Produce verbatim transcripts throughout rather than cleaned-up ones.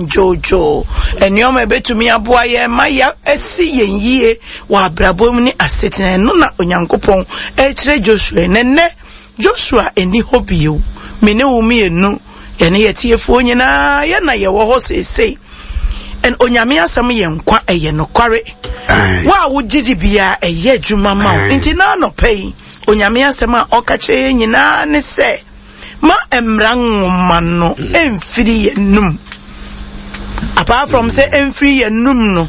yɛn dwoodwoo, nneɛma a ɛbɛtumi aboa yɛn ma yɛasi yɛn yie wɔ abrabɔ mu ne asetena. Ɛno na Onyankopɔn ɛrekyerɛ Joshua. Na nnɛ Joshua ɛni hɔ bio. Me ne wo mmienu, yɛne yɛtiefoɔ nyinaa, yɛn na yɛwɔ hɔ seesei. And Onyame asɛm yɛ nkwa, ɛyɛ nokware. Wo a wogye di biara, ɛyɛ adwuma ma wo. Nti na anɔpa yi, Onyame asɛm a ɔka kyerɛ yɛn nyinaa ne sɛ, ma mmara nwoma no mfiri yɛn num. Apart from sɛ mfiri yɛn num no,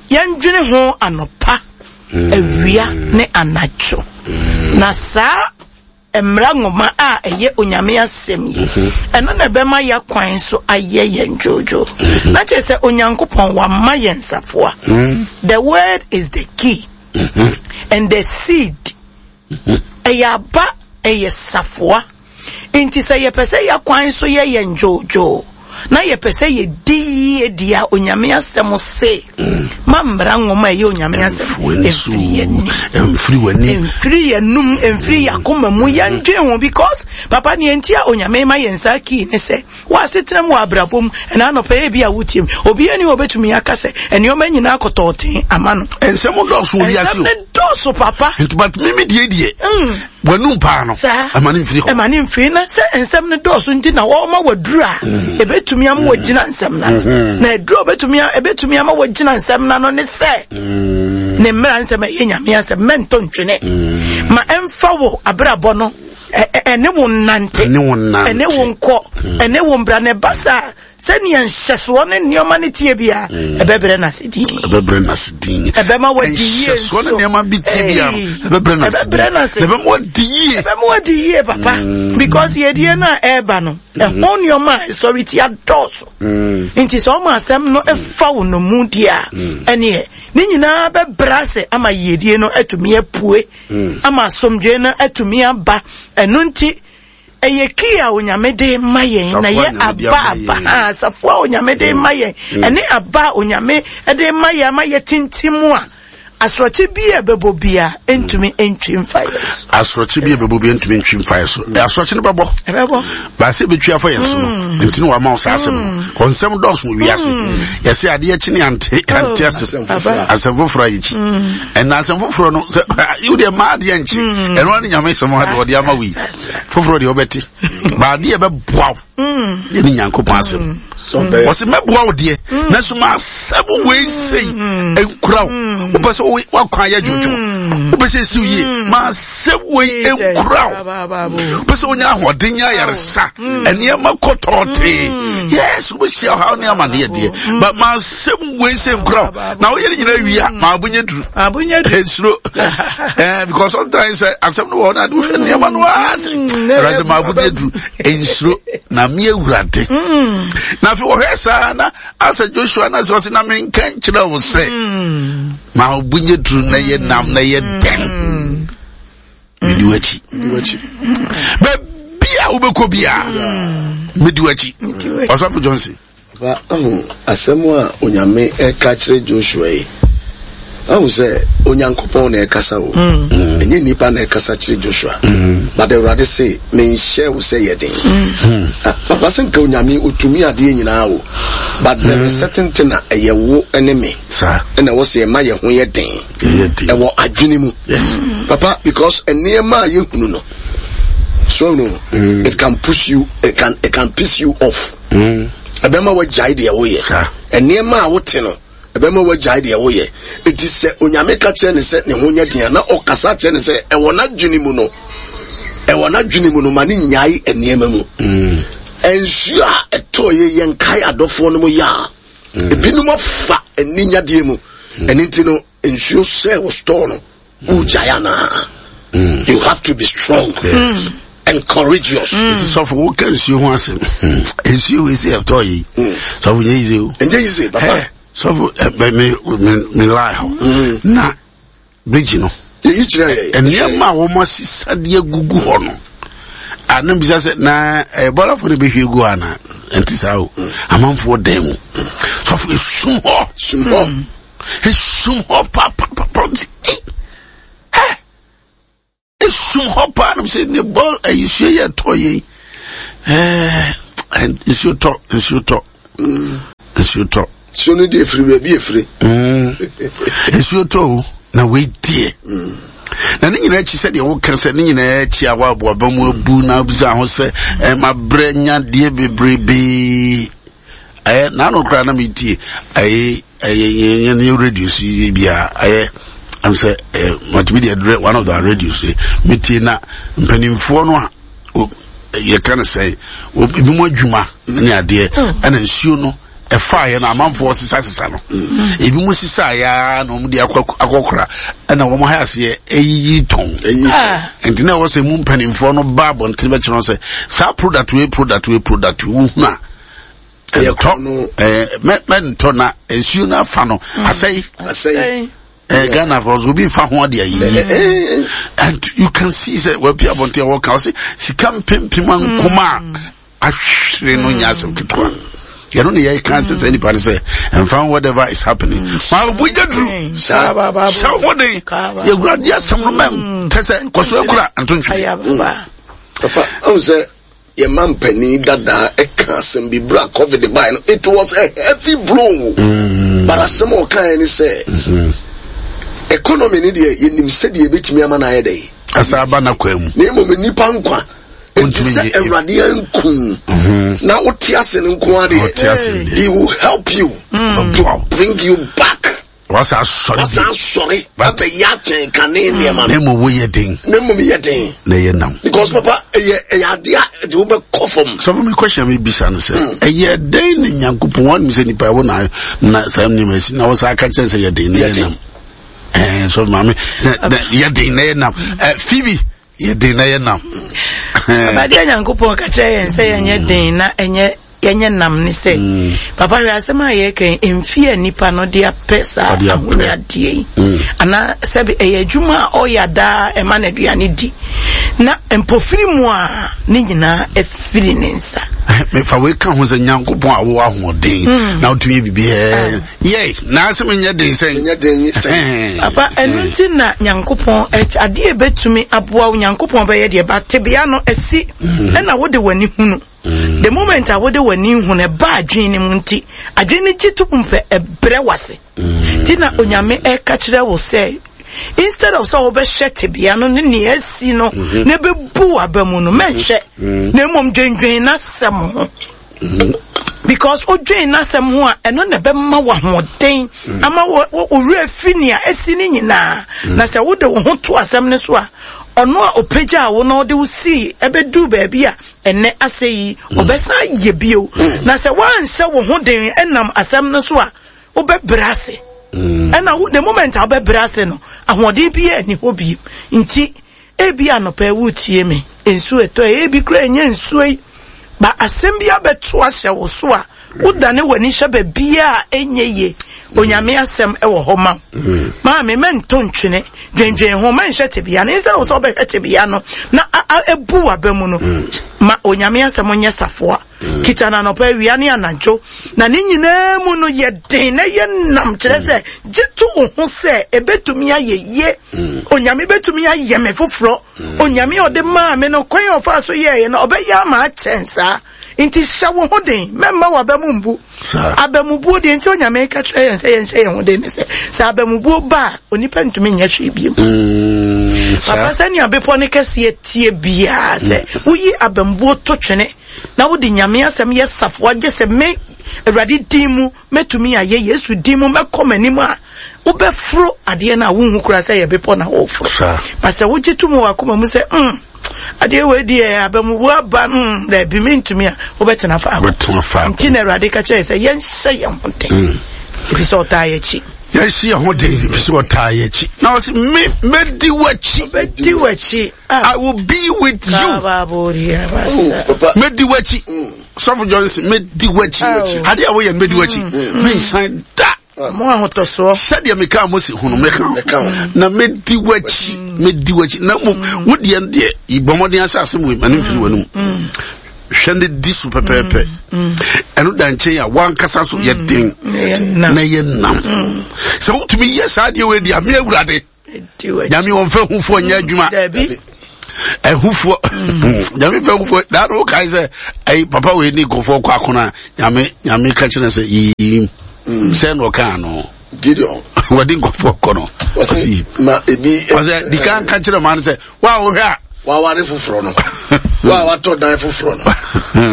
yɛndwene ho anɔpa, awia ne anadwo. Na saa mmara nwoma a ɛyɛ Onyame asɛm yi, ɛno na ɛbɛma yɛ kwan so ayɛ yɛn dwoodwoo. Na kyerɛ sɛ Onyankopɔn wama yɛn safoa. The word is the key and the seed. Ɛyɛ aba, ɛyɛ safoa. Nti sɛ yɛpɛ sɛ yɛ kwan so yɛ yɛn dwoodwoo na yɛpɛ sɛ yɛdi yie di a, Onyame asɛm se ma mmara nwoma a ɛyɛ Onyame asɛm ɛmfiri yɛn ni, ɛmfiri w'ani, ɛmfiri yɛn num, ɛmfiri yɛn akoma mu. Yɛndwen ho because papa, neɛ nti a Onyame ma yɛn saa kii ne sɛ wɔ asetena mu, wɔ abrabɔ mu, ɛna anɔpa yɛ bi a wotie mu, obiara ni wɔbɛtumi aka sɛ nneɛma nyinaa kɔtɔɔten ama no. Nsɛm dɔɔso wɔ wiase Nsɛm o. Ne dɔɔso, papa. Nti but mimi deɛ deɛ w'anum paa no, Saa. ɛma ne mfiri hɔ. Ɛma ne mfiri. Na sɛ nsɛm no dɔɔso nti na wɔma waduru a ɛbɛtumi ama wagyina nsɛm no ano. Na aduru a ɔbɛtumi a- ɛbɛtumi ama wagyina nsɛm no ano ne sɛ ne mmara nsɛm a ɛyɛ Nyame asɛm, mɛntɔ ntwene ma ɛmfa wo abrabɔ no, ɛ- ɛ- ɛne wo nnante, Ɛne wo nnante. ɛne wo nkɔ, ɛne wo mbra. Na ɛba saa, sɛnea nhyɛsoɔ ne nneɛma no tie bia, ɛbɛbrɛ no ase din. Ɛbɛbrɛ n'ase din. Ɛbɛma wadi yie. Nhyɛsoɔ ne nso. nneɛma bi tie bia no, Ei. ɛbɛbrɛ n'ase din. Ɛbɛbrɛ n'ase. Na ɛbɛma wadi yie. Ɛbɛma wadi yie, papa, because yɛdie no a ɛreba no, ɛho nneɛma a ɛsɔre tia dɔɔso. Nti sɛ ɔma asɛm no ɛfa wo no mu deɛ a, ɛneɛ ne nyinaa bɛbrɛ ase ama yiedie no atumi apue, ama asomdwoe no atumi aba. Ɛno nti ɛyɛ key a Onyame de ma yɛn na Safoa yɛ Nyame de aba ama aba yɛn. Ha safoa a Onyame de ma yɛn, ɛne aba a Onyame de ma yɛn ama yɛ tintim a asorɔkye bi a ɛbɛbɔ bia ntumi ntwi mfa yɛn so. Asorɔkye bi a ɛbɛbɔ bi ntumi ntwi mfa yɛ so. Asorɔkye no bɛbɔ, ɛbɛbɔ. Baasi ebɛtwi afa yɛn so no, nti ne wama wo saa asɛm no kɔ. Nsɛm dɔɔso wɔ wiase. Yɛsɛ adeɛ kyi ne ante ante ase. Asɛm foforɔ. Asɛm foforɔ a yɛkyi ɛna asɛm foforɔ no sɛ wodeɛ maa adeɛ nkye, ɛno ane Nyame sɛm ha deɛ ɔde ama wo yi. Saa, saa. Foforɔ deɛ wobɛte ba adeɛ bɛboa wo yɛne Nyankopɔn asɛm. Sɛ Wɔsi mɛboa wo deɛ, nanso ma asɛm wei sei nkura wo. Wopɛ sɛ wo- woakwan yɛ dwodwo, wopɛ sɛ esiw yie, ma asɛm wei nkura wo. Wopɛ sɛ wonya ahoɔden nya ayaresa, nneɛma kɔ tɔɔtee, yes, wobɛhyia ɔhaw ne amanneɛ deɛ, but ma asɛm wei sɛ nkura wo na woyɛ no nyinaa wie a, ma abonyɛ duru. Abonyɛ duru. Nsuro eh, because sometimes eh, asɛm no wɔ hɔ na ade wohwɛ nneɛma no ase. Awurade, ma abonyɛ duru, nsuro na me Awurade. Na afei wɔhwɛ saa na asɛ Joshua na sɛ ɔse na menka nkyerɛ wo sɛ ma abonyɛ duru na yɛ nam na yɛ dɛn, medi w'akyi. W'akyi. Baabi a wobɛkɔ biaa, medi w'akyi. Ɔsɔfo Johnson. Papa, ahu asɛm a Onyame ɛka kyerɛ Joshua yi, ahu sɛ Onyankopɔn na ɛkasa o, ɛnyɛ nipa na ɛkasa kyerɛ Joshua, but Awurade se menhyɛ wo sɛ yɛ den. Ah, papa, sɛ nka Onyame otumi adeɛ nyinaa o, but there is certain thing a ɛyɛ wo ne me saa ɛna ɛwɔ sɛ yɛma yɛ ho yɛ den. Ɛyɛ den. Ɛwɔ adwene mu, yes papa, because nneɛma a yɛhunu no so no, it can push you, it can it can piss you off. Ɛbɛma wagyae deɛ woyɛ. Saa. Nneɛma a wote no ɛbɛma wagyae deɛ woyɛ. Eti sɛ Onyame ka kyerɛ ne sɛ ne ho nyɛ den a, na ɔkasa kyerɛ ne sɛ ɛwɔ n'adwene mu no, ɛwɔ n'adwene mu no, ma ne nyae nneɛma mu. Nsuo a ɛtɔɔ yɛ, yɛn kae adɔfoɔ no mu yɛ a ebinom afa aninyadeɛ mu. Ɛne nti no nsuo sɛ wɔ store no, wogyae anaa? You have to be strong Yes. and courageous. Nti sɔfo, woka nsuo ho asɛm, nsuo wei sɛ ɛtɔ yi, sɔfo, nyɛ yize o. Ɛnyɛ yize, papa. Ɛ, sɔfo, ɛ, me me me lie hɔ na bridge no, yɛyi kyerɛ yɛ. Nneɛma a wɔn asesa de agugu hɔ no a, na bisa sɛ na ɛyɛ bɔlafo no bɛhwie gu hɔ ana? Ɛnte saa o. Amanfoɔ dan mu, sɔfo, esum hɔ. Sum hɔ. Esum hɔ papapapa. Nti ɛ ɛ esum hɔ paa nam sɛ ne bɔ ɛyi nsuo yɛ tɔ yɛ yi, ɛɛ nsuo tɔ, nsuo tɔ. Nsuo tɔ. Nsuo no deɛ efiri baabi efiri. Nsuo tɔ o na wei deɛ. Na ne nyinaa akyi sɛdeɛ woka sɛ ne nyinaa akyi a woaboaba mu abu na wobisa ho sɛ mabrɛ nya deɛ bebrebee. Ɛyɛ n'ano koraa na metie ɛyɛ ɛyɛ yɛn radio so yi bi a ɛyɛ ɛm sɛ ɛyɛ multimedia dirɛ one of the radios yi metie na mpanimfoɔ no a yɛka no sɛ ebi mu adwuma ne adeɛ ɛna nsuo no ɛfaeɛ no amanfoɔ sesasesa no ebi mu sesaeɛ na wɔn de akɔkora ɛna wɔn ha aseɛ ɛyiyi tɔn nti na ɛwɔ sɛ mu mpanimfoɔ no ba abɔnten bɛkyerɛ sɛ saa product wei product wei product wei wohunu a ɛntɔ ɛɛ mɛ mɛntɔ na nsuo no afa no asɛe asɛe. Uh, Ghana for so be fa ho ade ayi. And you can see say we pia bonte wo ka say sika mpempem ankoma ahwere no nya asem ketewa. You know you can say any person say and find whatever is happening. Ma obu jadru. Sa ho den. Ye gurade asem no mem tese koso akura ntontwe. Papa, I say your man penny dada e kan bi bra COVID by no it was a heavy blow. Mm. But asem o kan ni say mm-hmm. economy ni de yenim se de ebetumi ama na ayede. Asa aba na kwa mu. Na emom nipa nkwa. Enti se Awurade anku. Na wote ase ne nko ade. He will help you mm. to bring you back. Wasa asɔre. Wasa asɔre. But ya chen kane nneɛma. Na emu wo yɛ den. Na emu yɛ den. Na yɛ nam. Because papa ɛyɛ ɛyɛ ade a de wo bɛ kɔ fam. Sɔfo mi question mi bisa no sɛ ɛyɛ den na Nyankopɔn wɔn mi sɛ nipa ɛwɔ na na saa nneɛma esi na wɔsa aka kyerɛ sɛ yɛ den na yɛ nam. Ɛɛ sɔfo maame sɛ yɛ den na yɛ nam. Ɛ Phoebe yɛ den na yɛ nam. Abadeɛ Nyankopɔn ka kyerɛ yɛn sɛ yɛnyɛ den na ɛnyɛ yɛnyɛ nam ne sɛ papa hwɛ asɛm a yɛka mfie a nipa no de apɛ saa ahonyadeɛ yi anaa sɛbi ɛyɛ adwuma a ɔyɛ daa ɛma n'aduane di na mpofiri mu a ne nyinaa ɛfiri ne nsa. Mefa wei ka ho sɛ Nyankopɔn a wowɔ ahoɔden na wotumi yɛ biribi yɛ na asɛm nyɛ den sɛn nyɛ den sɛn papa ɛno nti na Nyankopɔn adeɛ bɛtumi aboa wo Nyankopɔn bɛyɛ deɛ ba tebea no asi ɛna wode w'ani hunu. The moment I would w'ani hu na ba adwene mu nti adwene gye to mpɛ ɛbrɛ wase ti na Onyame ɛka kyerɛ wo sɛ instead of sɛ wobɛhwɛ tebea no ne nea asi no na ɛbɛbu w'aba mu no mɛnhwɛ na mmom dwendwen n'asɛm ho because odwen n'asɛm ho a ɛno na ɛbɛma w'ahoɔden ama wo werɛ fi nea asi ne nyinaa na sɛ wode wo ho to asɛm no so a ɔno a ɔpagyaa wo na ɔde wo sii ɛbɛduu baabi a enne asɛyi obesa yebio na sɛ wanhyɛ wo ho den enam asɛm no so a wobɛbrɛ ase ɛna the moment a wobɛbrɛ ase no ahoɔden bi ani hɔ bi nti ebi anɔpɛ wutie me nsuo ɛtɔ ebi kura enye nsuo yi ba asɛm bi abɛto ahyɛ wo so a wodane w'ani hwɛ baabi a enye ye Onyame asɛm ɛwɔ hɔ ma maame mɛnto ntwene dwendwen ho mɛnhwɛ tebea no instead of sɛ wobɛhwɛ tebea no na ebu w'aba mu no ma Onyame asɛm nyɛ safoa kita na anɔpa awia ne anadwo na ne nyinaa mu no yɛ den na yɛ nam kyerɛ sɛ gye to wo ho sɛ ebetumi ayɛ yie Onyame betumi ayɛ me foforɔ Onyame ɔde maa me no kwan a ɔfa so yɛɛyɛ no ɔbɛyɛ ama akyɛn saa nti hyɛ wo ho den mɛmma w'aba mu mbu abamubuo deɛ nti Onyame ka kyerɛ yɛn sɛ yɛnhyɛ yɛn ho den ne sɛ sɛ abamubuo ba a onipa ntumi nyɛ hwee bio papa sɛnea bepɔ ne kɛseɛ tie biara sɛ woyi abamubuo to twene na wode Nyame asɛm yɛ safoa gye sɛ me Awurade din mu mɛtumi ayɛ Yesu din mu mɛkɔ m'anim a wobɛforo adeɛ no a wonhu koraa sɛ yɛ bepɔ na woforo ba sɛ wogye to mu wɔ akoma mu sɛ mm adeɛ wei deɛ abamubuo aba mm daabi mentumi a wobɛtena faako nti na Awurade ka kyerɛ sɛ yɛnhyɛ yɛn ho den ɛfiri sɛ ɔtaa yɛ akyi yɛnhyɛ yɛn ho den ɛfiri sɛ ɔtaa yɛ akyi na ɔse me mɛdi w'akyi mɛdi w'akyi I will be with you. Mɛdi w'akyi Sɔfo Johnson mɛdi w'akyi adeɛ a woyɛ no mɛdi w'akyi mensan da mo ahotɔsoɔ sɛdeɛ meka Mose ho no mɛka na mɛdi w'akyi mɛdi w'akyi na mmom wo deɛ deɛ bɔ mmɔden asɛ asɛm wei ma ne mfiri w'anom hwɛ ne di so pɛpɛɛpɛ ɛno da nkyɛn a wankasa so yɛ den na yɛ nam sɛ wotumi yɛ saa deɛ wei deɛ me Awurade Nyame wɔmfa hufoɔ nyɛ adwuma Ɛhufoɔ Nyame fɛ hufoɔ daa no wokae sɛ ɛyi papa wei ne nkurɔfoɔ kɔ akono a Nyame Nyame ka kyerɛ sɛ yiyim sɛ na ɔkaa no Gideon wɔde nkurɔfoɔ kɔ no ɔsi ma ebi ɔsɛ di kan ka kyerɛ maa no sɛ wo a wohwɛ a waware foforɔ no wo a watɔ dan foforɔ no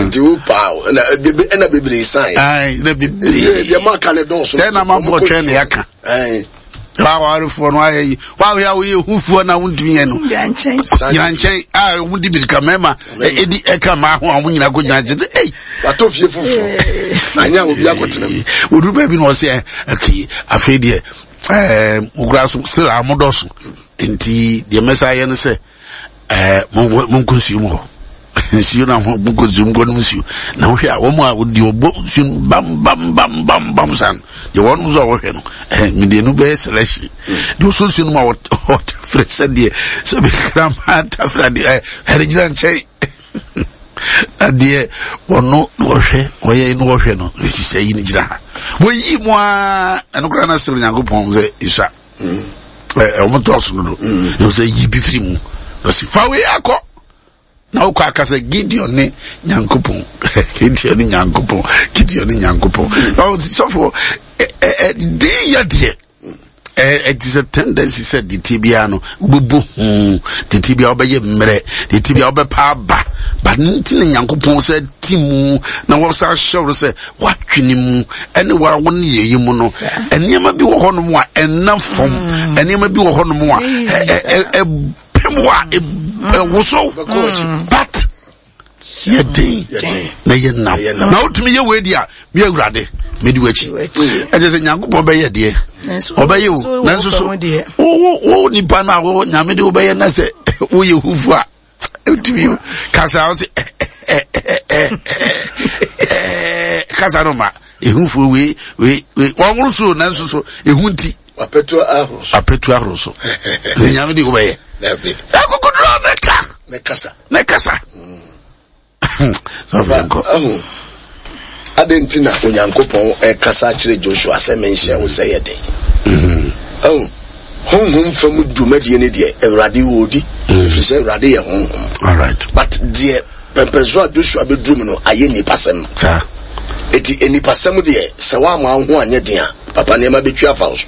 nti wo paa ɛna ɛna bebree san ɛna bebree deɛ mo aka ne dɔɔso sɛ na amanfoɔ twɛn ne yɛaka wawarefoɔ no ayɛ yi wahwɛ a woyɛ hufoɔ na wontumi yɛ no gyina nkyɛn a wɔn di mirika mmarima ɛdi ɛka mmaa ho a wɔn nyinaa kɔ gyina nkyɛn sɛ ei watɔ fie foforɔ anya obi akɔtena mu wɔduru baabi na ɔsɛ ɛkei afei deɛ ɛɛ mokura so still a modɔso nti deɛ mɛsa ayɛ no sɛ ɛɛ monkɔ nsuo mu hɔ nsuo na ho monkɔ nsuo mu nkɔnom nsuo na wohwɛ a wɔn a wɔde ɔbɔ nsuo mu bam bam bam bam bam san deɛ wɔn nso a wɔhwɛ no ɛɛ mede no bɛyɛ selection deɛ ɔsɔ nsuo no mu a ɔtafere sɛdeɛ sɛ bɛkra tafere adeɛ ɛɛ ɛde gyina nkyɛn adeɛ wɔno wɔhwɛ wɔyɛ no wɔhwɛ no sɛ yi no gyina ha wɔyi mu a ɛno koraa na sere Nyankopɔn sɛ ɛsua ɛ wɔn tɔɔso no do ɛwɔ sɛ yi bi firi mu ɔsi fa wei akɔ na wokɔ aka sɛ Gideon ne Nyankopɔn Gideon ne Nyankopɔn Gideon ne Nyankopɔn sɔfo ɛ ɛ den yɛ deɛ ɛ ɛti sɛ tendency sɛ de tie biara no wobɛbɔ hu de tie biara wobɛyɛ mmerɛ de tie biara wobɛpa aba ba ne ti ne Nyankopɔn sɛ ti mu na wɔsa ahyɛ wo sɛ woatwene mu ɛne wa wo ne yɛyi mu no nneɛma bi wɔ hɔnom a ɛnna fam nneɛma bi wɔ hɔnom a ɛ ɛ ɛpem wɔ a ɛwoso but yɛ den na yɛ nam na wotumi yɛ wei di a mi Awurade medi w'akyi ɛkyɛ sɛ Nyankopɔn bɛyɛ deɛ ɔbɛyɛ o nanso so wo wo nipa no a wo Nyame de wobɛyɛ na sɛ woyɛ hufu a wotumi kasa wo sɛ kasa no ma ehufuo wei wei wei wɔnworo so nanso so ehu nti apɛtu ahoro so apɛtu ahoro so ne Nyame de wobɛyɛ akokoduro ne ka ne kasa ne kasa adɛn nti na Onyankopɔn ɛkasa kyerɛ Joshua sɛ menhyɛ wo sɛ yɛ den ahu honhom fam dwumadie ne deɛ Awurade wɔ di ɛfiri sɛ Awurade yɛ honhom all right but deɛ pɛmpɛnso a Joshua bɛduru mu no ayɛ nipasɛm saa eti enipasɛm deɛ sɛ woama wo ho anyɛ den a papa nneɛma bɛtwi afa wo so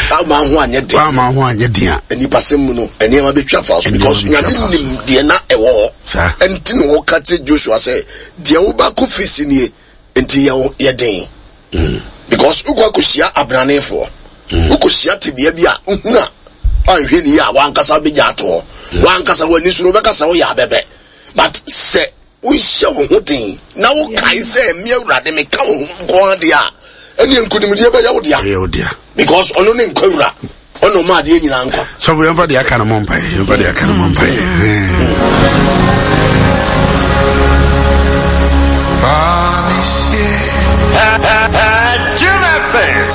woama wo ho anyɛ den woama wo ho anyɛ den a enipasɛm mu no nneɛma bɛtwi afa wo so because Nyame nim deɛ na ɛwɔ hɔ ɛnti na wɔka kyerɛ Joshua sɛ deɛ wobɛkɔ fesi nie nti yɛ yɛ den because wokɔ akɔhyia abranefoɔ wokɔhyia tebea bi a wohunu a anhwɛ ni a wankasa bɛgya ato hɔ wankasa w'ani so no wobɛkasa woyɛ abɛbɛ but sɛ wohyɛ wo ho den na wokae sɛ me Awurade meka wo ho nko adeɛ a ɛne nkonimdie bɛyɛ wo dea because ɔno ne nkwa wura ɔno ɔma adeɛ nyinaa nkwa sɔfo yɛmfa deɛ aka no mɔ mpaeɛ yɛmfa deɛ aka no mɔ mpaeɛ